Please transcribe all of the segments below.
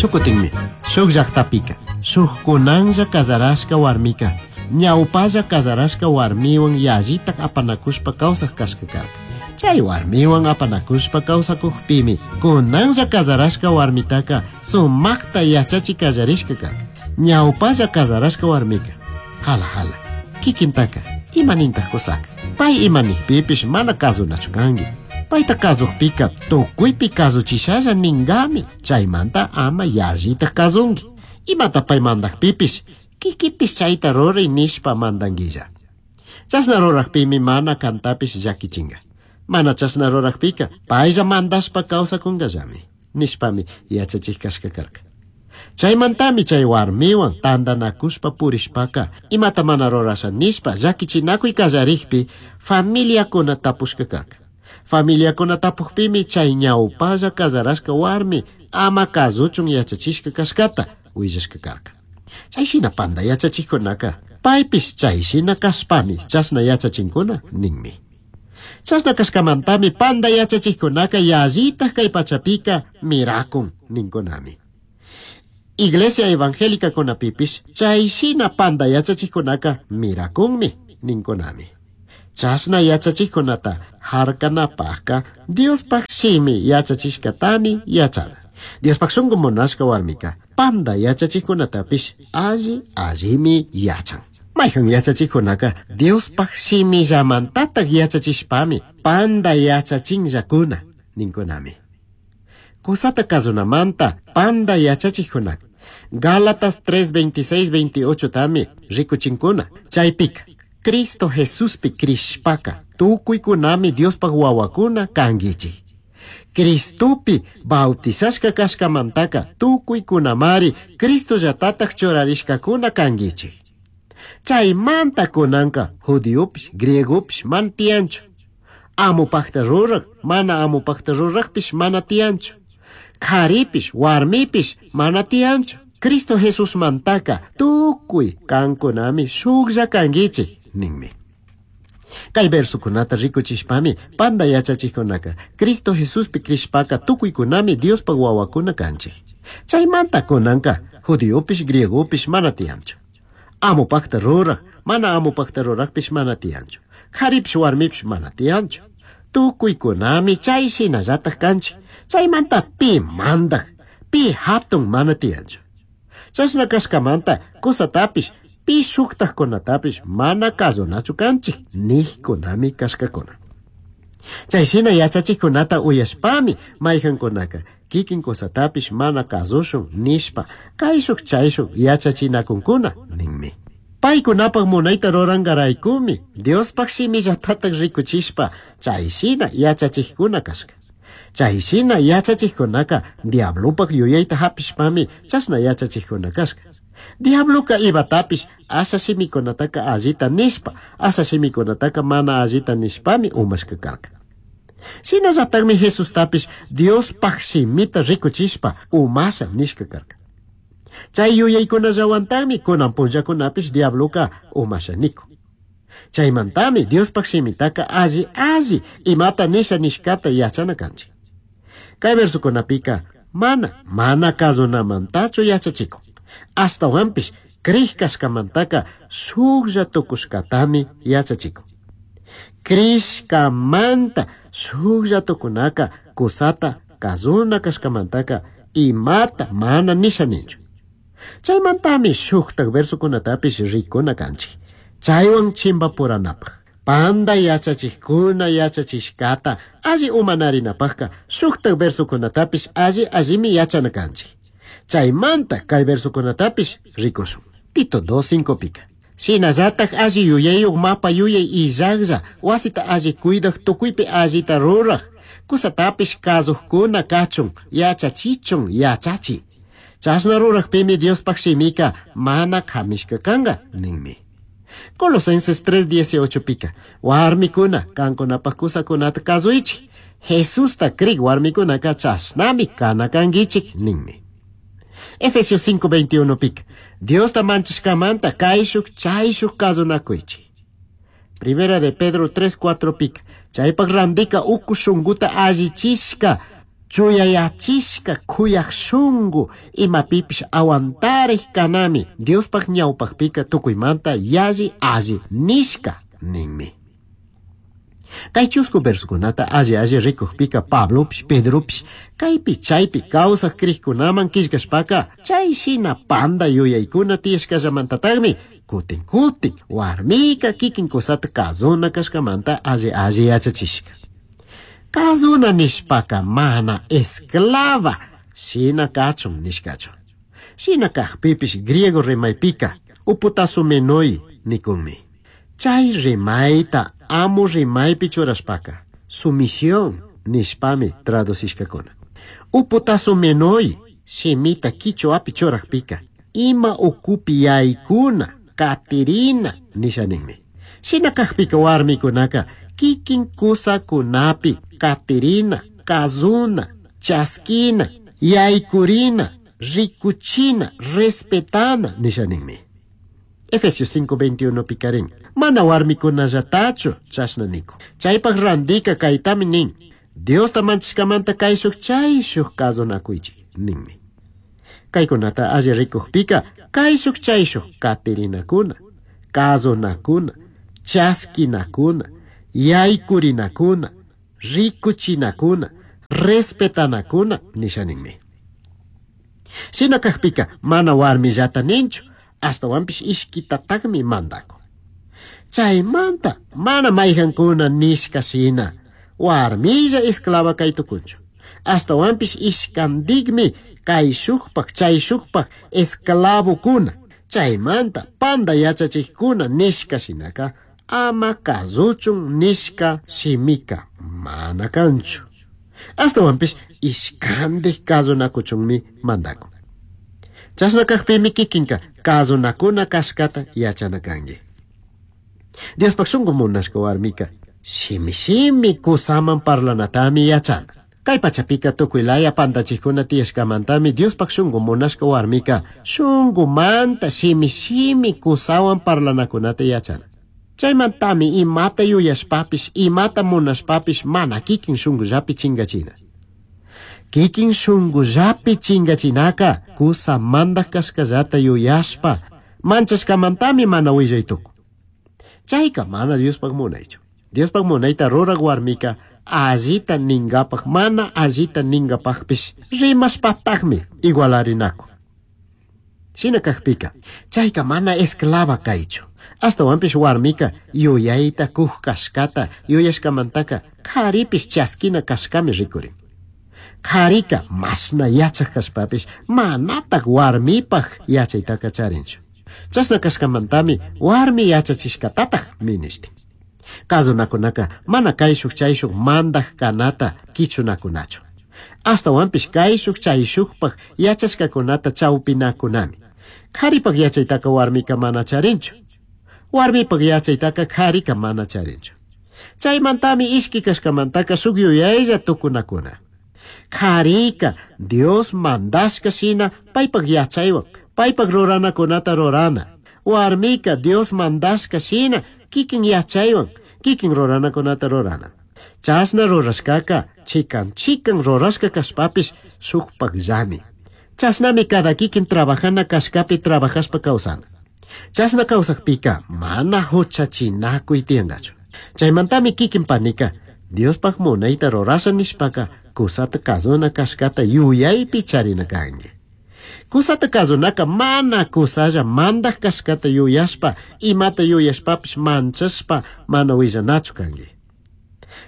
Shukutinmi, shuk llaqtapika, shuk kunanlla kazarashka warmika, ñawpalla kazarashka warmiwan yallitak apanakushpa kawsaq kashka karka. Chay warmiwan apanakushpa kawsakukpimi, kunanlla kazarashka warmitaka sumakta yachachi kallarishka karka. Ñawpalla kazarashka warmika, hala hala, kikintaka, imanintaq kusaka. Pay imanikpipish mana kasunachu kanki. Payta kasukpika tukuypi kasuchishalla ningami, chaymanta ama yallitak kasunki. Imata pay mandakpipish, kikipish chayta ruray nishpa mandanguilla. Chashna rurakpimi mana kantapish llakichinga. Mana chashna rurakpika paylla mandashpa kawsakunkallami, nishpami yachachik kashka karka. Chaymantami chay warmiwan tantanakushpa purishpaka imata mana rurasha nishpa llakichinakuy kallarikpi familiakuna tapushka karka. Familiakuna tapukpimi chay ñawpalla kazarashka warmi ama kasuchun yachachishka kashkata willashka karka. Chay shina panda yachachikkunaka paypish chay shina kashpami chashna yachachinkuna ninmi. Chashna kashkamantami panda yachachikkunaka yallitak kay pachapika mirakun ninkunami. Iglesia evangélica kunapipish chay shina panda yachachikkunaka mirakunmi ninkunami. Chashna yachachikkunata harkanapaqka Diospaq shimi yachachishkatami yachana. Diospaq shunqu munashka warmika panda yachachikkunatapish alli allimi yachan. Mayhan yachachikkunaka Diospaq shimillamantataq yachachishpami panda yachachinllakuna ninkunami. Kusata kasunamanta panda yachachikkunaka Gálatas 3, 26, 28 tami rikuchinkuna. Chaypika Cristo Jesuspi krishpaka tukuykunami Diospaq wawakuna kankichik. Cristopi bautizashka kashkamantaka tukuykunamari Cristollatataq churarishkakuna kankichik. Chaymanta kunanka judiopish griegopish mana tiyanchu. Amupaqta ruraq mana amupaqta ruraqpish mana tiyanchu. Qharipish warmipish mana tiyanchu. Cristo Jesusmantaka tukuy kankunami shuklla kankichik ninmi. Kay versukunata rikuchishpami panda yachachikkunaka Cristo Jesuspi krishpaka tukuykunami Diospaq wawakuna kanchik. Chaymanta kunanka judiopish griegopish mana tiyanchu. Amupaqta ruraq mana amupaqta ruraqpish mana tiyanchu. Qharipish warmipish mana tiyanchu. Tukuykunami chay shinallataq kanchik. Chaymanta pi mandaq, pi hatun mana tiyanchu. Chashna kashkamanta kusatapish pi shuktajkunatapish mana kasunachu kanchik niqkunami kashkakuna. Chay shina yachachikkunata uyashpami mayqankunaka kikin kusatapish mana kasushun nishpa kayshuk chayshuk yachachinakunkuna ninmi. Paykunapaq munayta rurankaraykumi Diospaq shimillatataq rikuchishpa chay shina yachachikkuna kashka. Chay shina yachachikkunaka diablopaq yuyayta hapishpami chashna yachachikkuna kashka. Diabloka imatapish asha shimikunataka allita nishpa, asha shimikunataka mana allita nishpami umashka karka. Shinallataqmi Jesustapish Diospaq shimita rikuchishpa umasha nishka karka. Chay yuyaykunallawantaqmi kunan punllakunapish diabloka umasha nikun. Chaymantami Diospaq shimitaka alli alli imata nisha nishkata yachana kanchik. Kay versukunapika mana mana kasunamantachu yachachikun. Ashtawanpish krij kashkamantaka shuklla tukushkatami yachachikun. Krishkamanta shuklla tukunaka kusata kasuna kashkamantaka imata mana nisha ninchu. Chaymantami shuktak versukunatapish rikuna kanchik. Chaywan chimbapuranapaq. Panda yachachikkuna yachachishkata alli umanarinapaqka shuktak versukunatapish alli allimi yachana kanchik. Chaymanta kay versukunatapish rikushun. Tito 2.5 pika. Shinallataq alli yuyayuq mapa yuyay illaqlla wasita alli cuidaq tukuypi allita ruraq kusatapish kasuqkuna kachun yachachichun yachachi. Chashna ruraqpimi Diospaq shimika mana kamishka kanka ninmi. Colosenses 3.18 pika. Warmikuna kankunapaq kusakunata kasuychik. Jesusta krik warmikunaka chashnami kana kankichik ninmi. Efesios 5.21 pika. Diosta manchashkamanta kayshuk chayshuk kasunakuychik. Primera de Pedro 3.4 pika. Chaypaq randika uku shunkuta allichishka Chuyayachishka kuyaj shungu imapipish aguantarej kanami Diospaj ñawpajpika tukuymanta yalli alli nishka ninmi. Kay chusku versokunata alli alli rikujpika Pablopish Pedropish kaypi chaypi kawsaj krikkunaman killkashpaka chay shina panda yuyaykuna tiyashkallamantataqmi kutin kutin warmika kikin kusata kazuna kashkamanta alli alli yachachishka. Kazuna nishpaka mana esclava shina kachun nishkachu. Shina kajpipish griego rimaypika uputasumenoi nikunmi. Chay rimayta amu rimaypi churashpaka sumisión nishpami traducishkakuna. Uputasumenoi shimita kichwapi churajpika ima ukupi yaykuna katirina nisha ninmi. Shina kajpika warmikunaka kikin kusakunapi katirina, kazuna, chaskina, yaykurina, rikuchina, respetana nisha ninmi. Efesios 5:21 pikarin. Mana warmikunallatachu chashna niku. Chaypaj randika kaytami nin. Diosta manchishkamanta kayshuj chayshuj kazunakuychik ninmi. Kaykunata alli rikujpika kayshuj chayshuj katirinakuna, kazunakuna, chaskinakuna, yaykurinakuna, rikuchinakuna, respetanakuna nisha ninmi. Shina kajpika mana warmillata ninchu, astawanpish ishkitataqmi mandakun. Chaymanta mana mayqankuna nishka shina warmilla esclava kaytukunchu. Astawanpish ishkantikmi kayshukpaq chayshukpaq esclavokuna. Chaymanta panda yachachikkuna nishka shinaka ama kazuchun nishka shimika mana kanchu. Astawanpish ishkandik kazunakuchunmi mandakun. Chashna kajpimi kikinka kazunakuna kashkata yachana kanki. Diospaq shunku munashka warmika shimi shimi kusaman parlanatami yachana. Kay pachapika tukuy laya pantachikkuna tiyashkamantami Diospaq shunku munashka warmika shunkumanta shimi shimi kusawan parlanakunata yachana. Chaymantami imata yuyashpapish imata munashpapish mana kikin shunkullapi chingachina. Kikin shunkullapi chingachinaka kusa mandaj kashkallata yuyashpa manchashkamantami mana willaytukun. Chayka mana Diospaq munaychu. Diospaq munayta ruraq warmika allita ningapaq mana allita ningapaqpish rimashpataqmi igualarinakun. Shina kajpika chayka mana esclava kaychu. Astawanpish warmika yuyayta kuj kashkata yuyashkamantaka karipish chaskina kashkami rikurin. Karika mashna yachaj kashpapish manataq warmipaq yachaytaka charinchu. Chashna kashkamantami warmi yachachishkatataq minishtin. Kazunakunaka mana kayshuk chayshuk mandaj kanata kichunakunachu. Astawanpish kayshuk chayshukpaq yachashkakunata chawpinakunami. Karipaq yachaytaka warmika mana charinchu. Warmipaq yachaytaka karika mana charinchu. Chaymantami ishki kashkamantaka shuk yuyaylla tukunakuna. Karika Dios mandashka shina paypaq yachaywan paypaq ruranakunata rurana. Warmika Dios mandashka shina kikin yachaywan kikin ruranakunata rurana. Chashna rurashkaka chikan chikan rurashka kashpapish shukpaqllami. Chashnami cada kikin trabajana kashkapi trabajashpa kawsana. Chashna kawsakpika mana huchachinakuy tiyankachu. Chaymantami kikin panika Diospaq munayta rurasha nishpaka kusata kazuna kashkata yuyaypi charina kanki. Kusata kazunaka mana kusalla mandaj kashkata yuyashpa imata yuyashpapish manchashpa mana willanachu kanki.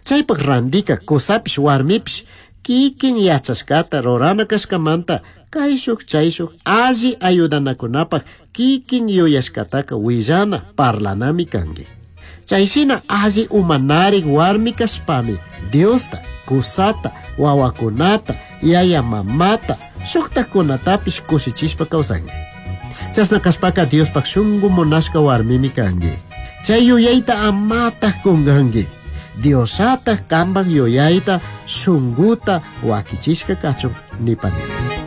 Chaypaq randika kusapish warmipish kikin yachashkata rurana kashkamanta kayshuk chayshuk alli ayudanakunapaq kikin yuyashkataka willana parlanami kanki. Chayshina alli umanarik warmi kashpami Diosta, kusata, wawakunata, yaya mamata, shuktakunatapish kushichishpa kawsanki. Chashna kashpaka Diospaq shunku munashka warmimi kanki. Chay yuyayta amataq kunkanki. Diosataq kanpaq yuyayta shunkuta wakichishka kachun nipanimi.